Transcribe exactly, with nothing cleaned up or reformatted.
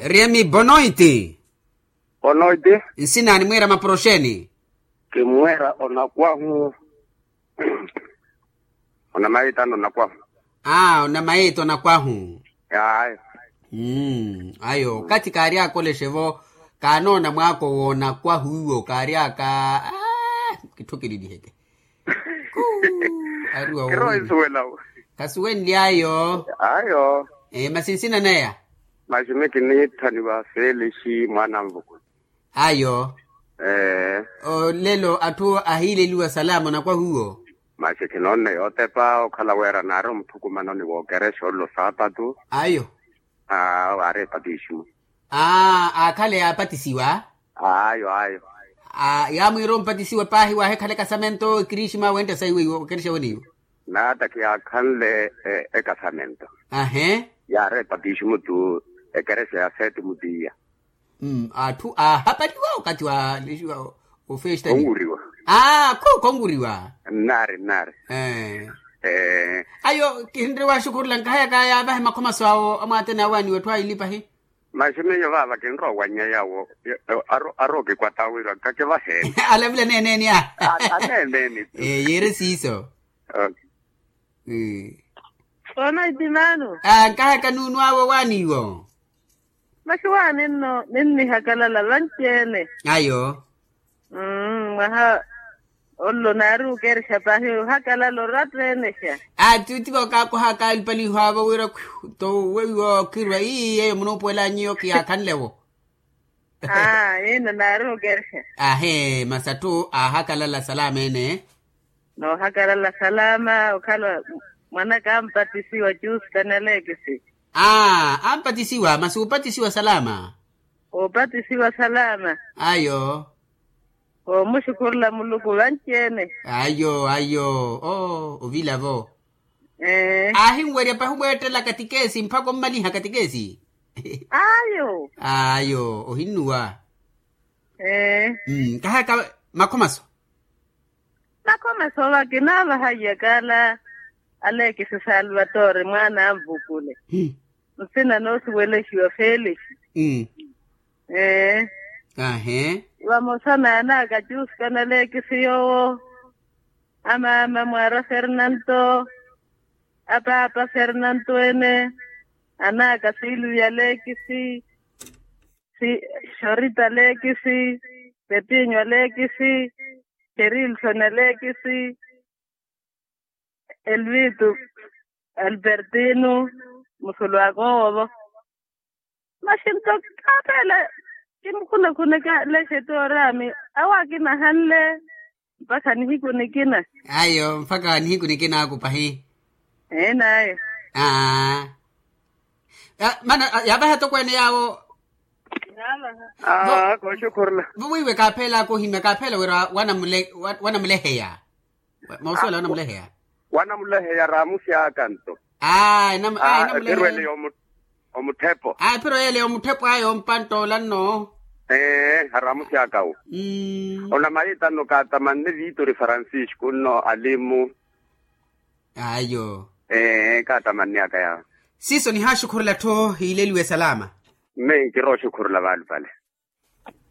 Riemi bonoiti. Bonoiti. Nsina animwira maporoxeni? Kimwira onakwahu. Onamaita onakwahu. Aa onamaita onakwahu. Ayo. Ayo okathi kaari akolexe-vo. Kaanoona mwaako w'onakwahu iwo kaari aka. Kitthu kililiheke. Kuu. Ariwa woowi. Kasuwenly'ayo. Ayo. Masi nsina neya? Masi mi kiniitthaniwa felixi mwaana a nvukulu. Ayo. Olelo atthu ahiileliwa salama onakwahu iwo. Masi khinoonne yootepa okhala wira naari omuthukumanoni wookerexa ollo saapatu. Ayo. Awo aari epatisimu. Aa aakhale yaapatisiwa. Ayo ayo. Yaamwiira ompatisiwa paahi waahikhala ekasamento ekirixima wentta saiwe iwo okerexa wene iwo. Naata khiyaakhanle ekasamento. Ahe. Yaari epatisimu tu ekerexa ya seeti mutiya. Atthu aahapaliwa okathi wa lexiwa ofesta onwuriwa. Aa khonwuriwa. Nnaari nnaari. Ayo kinrowa axukhurula nkahayaka yaavahe makhomaso awo amwaatene awaaniwa etthu aili pahi. Masi miyo vaava kinrowa owannya yawo. Arookikwata wira kakivaheeni. Alavula neeneeni a. Aneeneeni tu. Yiire siiso. Kona itimaano. Nkahaka nuunwaawe owaaniwo. Masi waani nno ninnihakalala vanci-ene. Ayo. Mwaha ollo naari okerexa paahi ohakalala oratta-ene xa. Attiitti vookakohaka alupaliho avo wira khwihu to weiwo khirwa ii yeeyo munuupuwela nyuwo khiyaakhanle-wo. Aa yino naari okerexa. Ahe masi atthu aahakalala salama ene. Noohakalala salama okhala mwanaka ampatisiwa juusi tani aleekisi. Aa ampatisiwa masi uupatisiwa salama. Uupatisiwa salama. Ayo. Oomuxukhurula muluku vanci-ene. Ayo ayo. Oo ovila-vo. Aahinwerya pahi omweettela katikesi mpakha ommaliha katikesi. Ayo. Ayo ohinnuwa. Nkahaka makhomaso. Makhomaso va kinaavaha iyakaala aleekisi salvatore mwaana anvukule. Nsina noosuwelexiwa felixi. Ahe. Vamosa n'anaka juusi kanaleekisi yoowo. Amaama mwaara fernanto. Apaapa fernanto ene. Anaka silvia aleekisi. Xorita aleekisi. Pepinyo aleekisi. Kerilsoni aleekisi. Elvitu. Alpertino. Musulu akoowo-vo. Masi nto kaapeela. Kimukhunakhunekelexeti oraami. Awo akinahanle. Mpakha nihiku nikina. Ayo mpakha nihiku nikinaaku pahi. Eenayo. Aa. Mana yaavaha atokweene yaawo. Aa kooxukhurula. Vo weiwe kaapheelaka ohimya kaapheela wira wanamuleheya. Mausuwela wanamuleheya. Wanamuleheya raamusi aka nto. Aa enamuleheya. Omuthepho. Aa ephiro yeele yomuthepho aya ompanttoola nno. Ee haramusi aka wo. Onamayitta nno kaatamanne vitori francisco nno alimu. Ayo. Ee kaatamanne aka yaawo. Siiso nihaaxukhurula-tho hiileliwe salama. Mme nkirooxukhurula vaalupale.